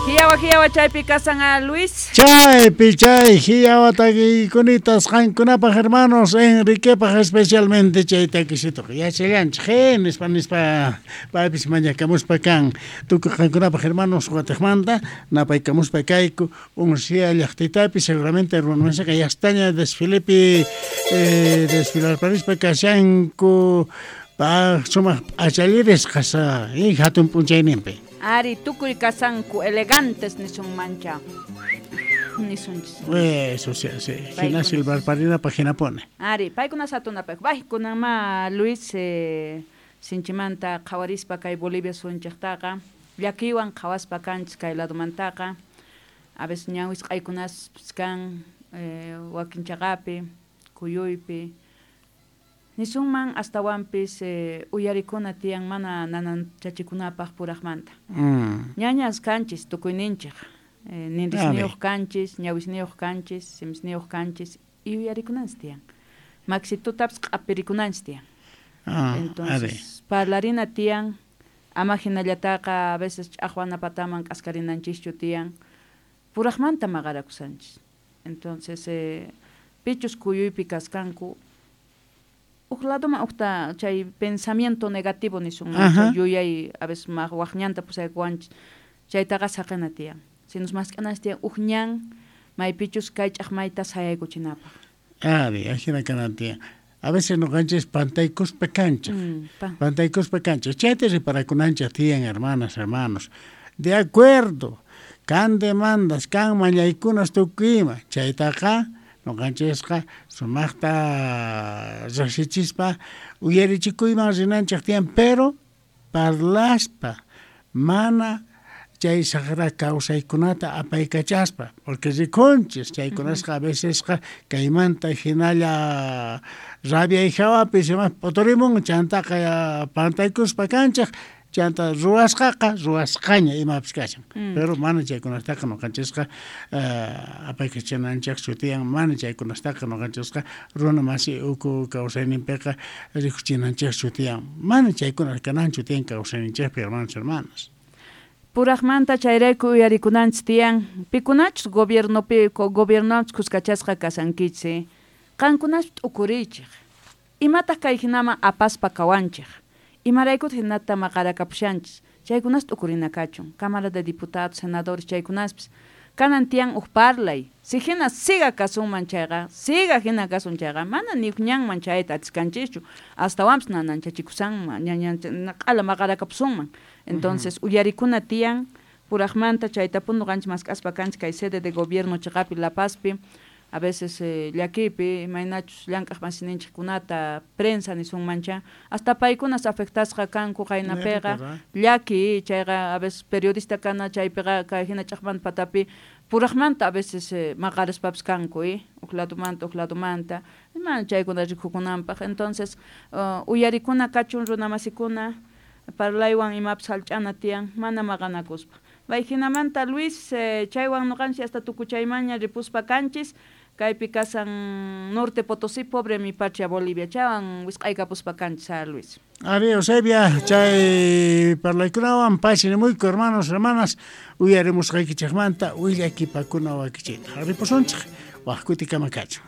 Hiyawa hiyawa chaypi kasan a Luis. Chaypi chay hiyawa takikunitas qankunapaj hermanos, Enriquepaj especialmente chay takisituqa yachallanchej nispa nispa paypis mañakamuspa kan tukuy qankunapaj hermanos watejmanta napaykamuspa kayku Uncia llaqtitapi seguramente runamansaqa yastaña desfilepi desfilarparispa kashanku pa sumaq p'achallirisqas hatun p'unchayninpi. Ari, tukuy kasanku elegantes nisunmancha nisunchis. Eso sí, sí. Hina silbarparinapaj hinapuni. Ari, paykuna satunapaj. Bay, kunanma Luis sinchimanta qhawarispa kay Bolivia sunchejtaqa llakiywan qhawaspa kanchis kay ladomantaqa. A veces ñawisq'aykunaspis kan wakin chaqapi, kuyuypi. Nisunman astawanpis uyarikuna tiyan mana nananchachikunapaj purajmanta. Ñañas kanchis tukuyninchej. Ninrisniyuq kanchis, ñawisniyuq kanchis, simisniyuq kanchis y uyarikunanchis tiyan. Maxitutapis q'apirikunanchis tiyan. Entonces, parlarina tiyan, ama hinallataqa a veces ch'aqwana pataman k'askarinanchishchu tiyan. Purajmanta maqarakusanchis. Entonces, pichus kuyuypi kaskanku uj ladoman ujta chay pensamiento negativo nisunman, yuyay a veces waj ñanta pusaykuwanchis, chaytaqa saqena tiyan. Sinus mask'ananchis tiyan uj ñan maypichus kay ch'aqmayta sayaykuchinapaj. Ari, ajina kanan tiyan. A veces noqanchis pantaykuspa kanchej. Pantaykuspa kanchej. Chayta reparakunanchej tiyan, hermanas, hermanos. De acuerdo, kan demandas, kan mañaykunas tukuyma, chaytaqa noqanchisqa sumaqta riqsichispa uyarichikuyman rinanchej tiyan, pero parlaspa mana chay saqra kawsaykunata apaykachaspa, porque rikunchis chaykunasqa a vecesqa kaymanta hinalla rabiay hawapi sumaqta p'uturimun, chantaqa pantaykuspa kanchej, chanta ruwasqaqa ruwasqaña imapis kashan. Pero mana chaykunastaqa noqanchisqa apaykachananchejchu tiyan, mana chaykunastaqa noqanchisqa runa masi uku kawsayninpiqa rikuchinanchejchu tiyan, mana chaykuna kananchu tiyan kawsayninchejpi, hermanos, hermanas. Purajmanta chayrayku uyarikunanchis tiyan, pikunachus gobiernopi gobiernochus kuskachasqa kasankichis, qankunash t'ukuriychej. Imataq kay hinaman apaspa kawanchej. Imaraykutaq hinata maqarakapushanchis, chaykunas t'ukurina kachun. Cámara de Diputados, senadores chaykunaspis kanan tiyan uj parlay. Si hina siga kasunman chayqa, siga hina kasun chayqa, mana ni uj ñanman chayta atiskanchishchu, astawanpis nananchachikusanman, q'ala maqarakapusunman. Entonces, uyarikuna tiyan purajmanta chaytapuni noqanchis mask'aspa kanchis kay sede de gobierno chiqapi La Pazpi, a veces llakiypi imaynachus llank'aq masininchikkunata prensa nisunmancha, hasta paykunas afectasqa kanku qaynapiqa, llaki chayqa a veces periodista kana chaypiqa kay hina ch'aqmanta patapi purajmanta a veces maqarispapis kanku, uj ladomanta uj ladomanta, mana chaykuna rikukunanpaj. Entonces, uyarikuna kachun runamasikuna, parlaywan imapis hallch'ana tiyan, mana maqanakuspa. Bay hinamanta Luis, chaywan noqanchis hasta tukuchaymanña ripuspa kanchis, kaypi kasan Norte Potosí, pobre mi patria Bolivia, chaywan wisq'aykapuspa kanchis, Luis. Ari, Eusebia, chay parlaykunawan pachinimuyku, hermanos, hermanas, uyarimusqaykichejmanta willakipakuna wakichita. Ripusunchej, waj kutikama kachun.